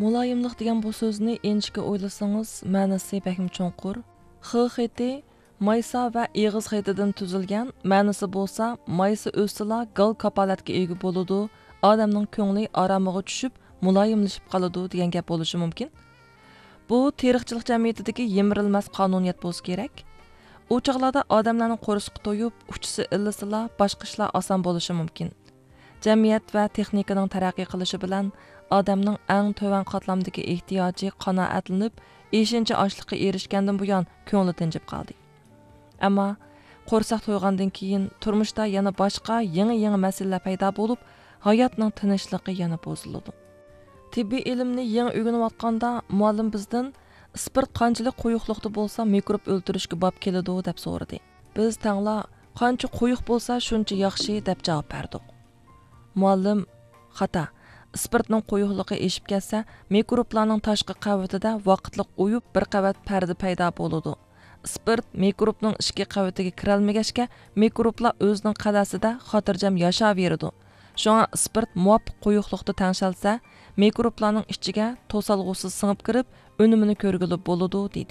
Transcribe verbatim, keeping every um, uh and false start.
مۇلايىملىق دېگەن بۇ سۆزنى ئىنچىكە ئويلىسىڭىز، مەنىسى بەكمۇ چوڭقۇر. خ خېتى مايسا ۋە ئېغىز خېتىدىن تۈزۈلگەن، مەنىسى بولسا مايسا ئۆسسىلا گال كاپالەتكە ئىگە بولىدۇ، ئادەمنىڭ كۆڭلى ئارامىغا چۈشۈپ، مۇلايىملىشىپ قالىدۇ دېگەن گەپ بولۇشى مۇمكىن. بۇ تېرىقچىلىق جەمئىيىتىدىكى يىمىرىلمەس قانۇنىيەت بولسا كېرەك. ئۇ چاغلاردا ئادەملەرنىڭ قورسىقى تويۇپ، ئۇچىسى ئىللىسىلا، باشقا ئىشلار ئاسان بولۇشى مۇمكىن. جەمئىيەت ۋە تېخنىكىنىڭ تەرەققىي قىلىشى بىلەن ئادەمنىڭ ئەڭ تۆۋەن قاتلامدىكى ئېھتىياجى قانائەتلىنىپ، ئېشىنچا ئاشلىققا ئېرىشكەندىن بۇيان كۆڭلى تىنچىپ قالدى. ئەمما قورساق تويغاندىن كېيىن تۇرمۇشتا يەنە باشقا يېڭى-يېڭى مەسىلىلەر پەيدا بولۇپ، ھاياتنىڭ تىنچلىقى يەنە بۇزۇلىدۇ. تېببىي ئىلىمنى يېڭى ئۆگىنىۋاتقاندا مۇئەللىم بىزدىن، ئىسپىرت قانچىلىك قويۇقلۇقتا بولسا مىكروب ئۆلتۈرۈشكە باب كېلىدۇ، دەپ سورىدى. بىز تەڭلا، قانچە قويۇق بولسا شۇنچە ياخشى، دەپ جاۋاب بەردۇق. مۇئەللىم، خاتا. ئىسپىرتنىڭ قويۇقلۇقى ئېشىپ كەتسە، مىكروبلارنىڭ تاشقى قەۋىتىدە ۋاقىتلىق ئۇيۇپ بىر قەۋەت پەردە پەيدا بولىدۇ. ئىسپىرت مىكروبنىڭ ئىچكى قەۋىتىگە كىرەلمىگەچكە، مىكروبلار ئۆزىنىڭ قەلئەسىدە خاتىرجەم ياشاۋېرىدۇ. شۇڭا ئىسپىرت مۇۋاپىق قويۇقلۇقتا تەڭشەلسە، مىكروبلارنىڭ ئىچىگە توسالغۇسىز سىڭىپ كىرىپ، ئۈنۈمىنى كۆرگىلى بولىدۇ، دېدى.